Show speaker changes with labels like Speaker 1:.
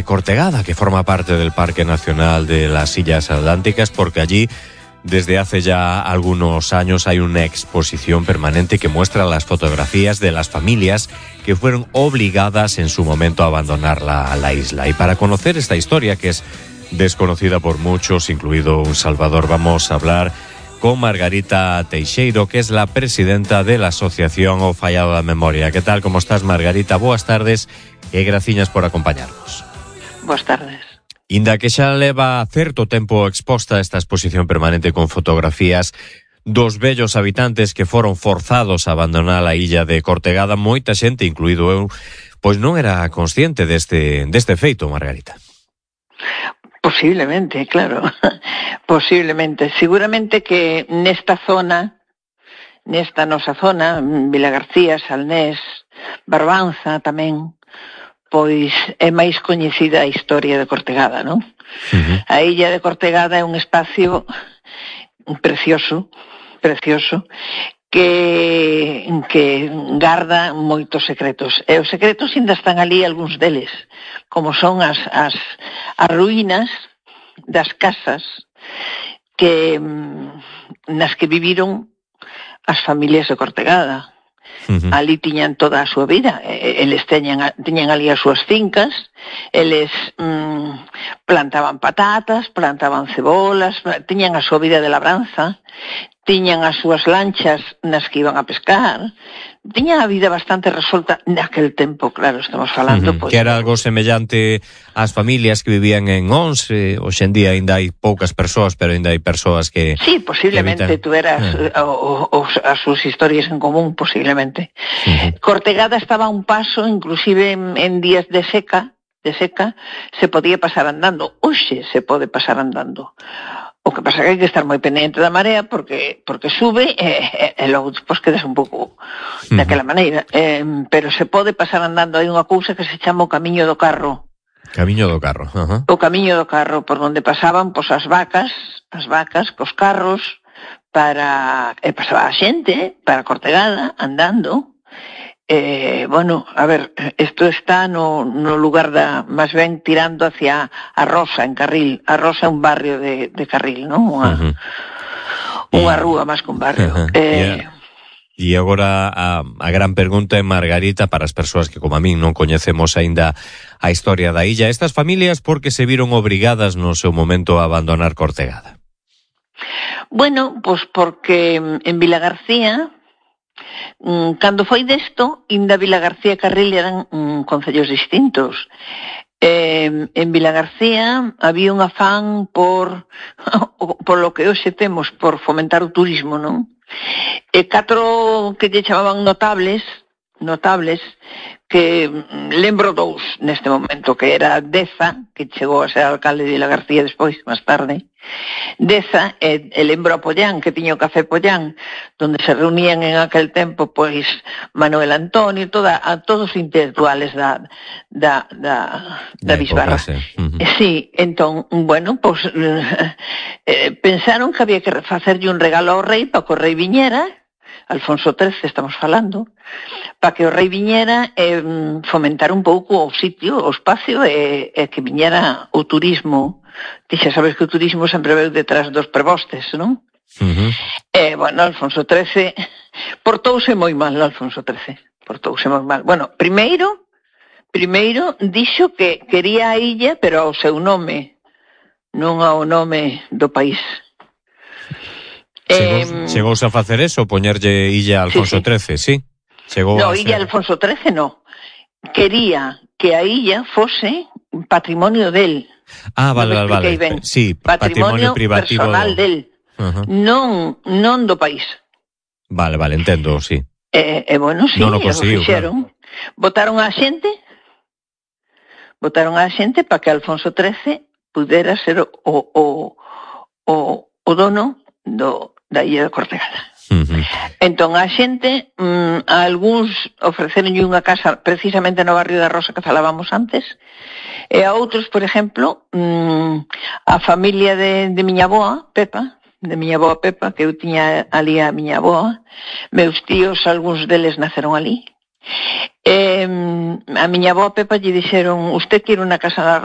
Speaker 1: Cortegada, que forma parte del Parque Nacional de las Illas Atlánticas, porque allí desde hace ya algunos años hay una exposición permanente que muestra las fotografías de las familias que fueron obligadas en su momento a abandonar la isla. Y para conocer esta historia, que es desconocida por muchos, incluido un Salvador, vamos a hablar con Margarita Teixeiro, que es la presidenta de la Asociación O Fallado da Memoria. ¿Qué tal? ¿Cómo estás, Margarita? Boas tardes e graciñas por acompañarnos.
Speaker 2: Boas tardes.
Speaker 1: Inda que xa leva certo tempo exposta esta exposición permanente con fotografías dos vellos habitantes que foron forzados a abandonar a illa de Cortegada, moita xente, incluído eu, pois non era consciente deste feito, Margarita.
Speaker 2: Posiblemente, claro. Posiblemente. Seguramente que nesta nosa zona, Vilagarcía, Salnés, Barbanza tamén, pois é máis coñecida a historia de Cortegada, non? A illa de Cortegada é un espacio precioso, que garda moitos secretos. E os secretos ainda están ali, algúns deles, como son as ruínas das casas nas que viviron as familias de Cortegada. Ali tiñan toda a súa vida, eles tiñan ali as súas fincas, eles plantaban patatas, plantaban cebolas, tiñan a súa vida de labranza, tiñan as súas lanchas nas que iban a pescar, tiñan a vida bastante resolta naquel tempo, claro, estamos falando...
Speaker 1: Pois, que era algo semellante ás familias que vivían en Ons, hoxe en día ainda hai poucas persoas, pero ainda hai persoas que...
Speaker 2: Sí, posiblemente que tuveras as súas historias en común, posiblemente. Cortegada estaba a un paso, inclusive en días de seca, se podía pasar andando. Hoxe se pode pasar andando. O que pasa que hai que estar moi pendiente da marea porque sube e logo despois quedas un pouco daquela maneira. Pero se pode pasar andando. Hai unha cousa que se chama o Camiño do Carro.
Speaker 1: Camiño do Carro,
Speaker 2: O Camiño do Carro, por onde pasaban as vacas cos carros, pasaba a xente para Cortegada, andando. Bueno, a ver, isto está no lugar máis ben tirando hacia a Rosa, en Carril. A Rosa é un barrio de Carril, non? Unha rúa máis que un barrio.
Speaker 1: E agora a gran pergunta é, Margarita, para as persoas que como a min non coñecemos aínda a historia da illa, estas familias por que se viron obrigadas no seu momento a abandonar Cortegada?
Speaker 2: Bueno, pois porque en Vilagarcía, cando foi desto, inda Vilagarcía e Carril eran concellos distintos. En Vilagarcía había un afán por lo que hoxe temos, por fomentar o turismo, non? E catro que lle chamaban notables, que lembro dous neste momento, que era Deza, que chegou a ser alcalde de Vilagarcía despois, máis tarde. Deza, e lembro a Pollán, que tiña o Café Pollán, donde se reunían en aquel tempo pois Manuel Antonio, todos os intelectuales da bisbarra. Sí, entón, bueno, pois pensaron que había que facerlle un regalo ao rei para que o rei viñera, Alfonso XIII estamos falando, para que o rei viñera e fomentar un pouco o sitio, o espacio e que viñera o turismo. Ti xa sabes que o turismo sempre veu detrás dos prebostes, non? Bueno, Alfonso XIII portouse moi mal, Bueno, primeiro dixo que quería a illa, pero ao seu nome, non ao nome do país.
Speaker 1: Chegouse a facer eso, poñerlle illa a Alfonso XIII, sí?
Speaker 2: No, illa Alfonso XIII no. Quería que a illa fose patrimonio del.
Speaker 1: Vale. Sí, patrimonio privativo
Speaker 2: personal del. Non do país.
Speaker 1: Vale, entendo, sí.
Speaker 2: Bueno, sí,
Speaker 1: non o conseguiu,
Speaker 2: fixeron. Claro. Botaron a xente para que Alfonso XIII pudera ser o dono da illa de Cortegada. Entón a xente, a algúns ofreceronlle unha casa precisamente no barrio da Rosa que falábamos antes, e a outros, por exemplo, a familia de miña avoa, Pepa, que eu tiña ali a miña avoa, meus tíos, algúns deles naceron ali, A miña avó Pepa lle dixeron: usted quere unha casa na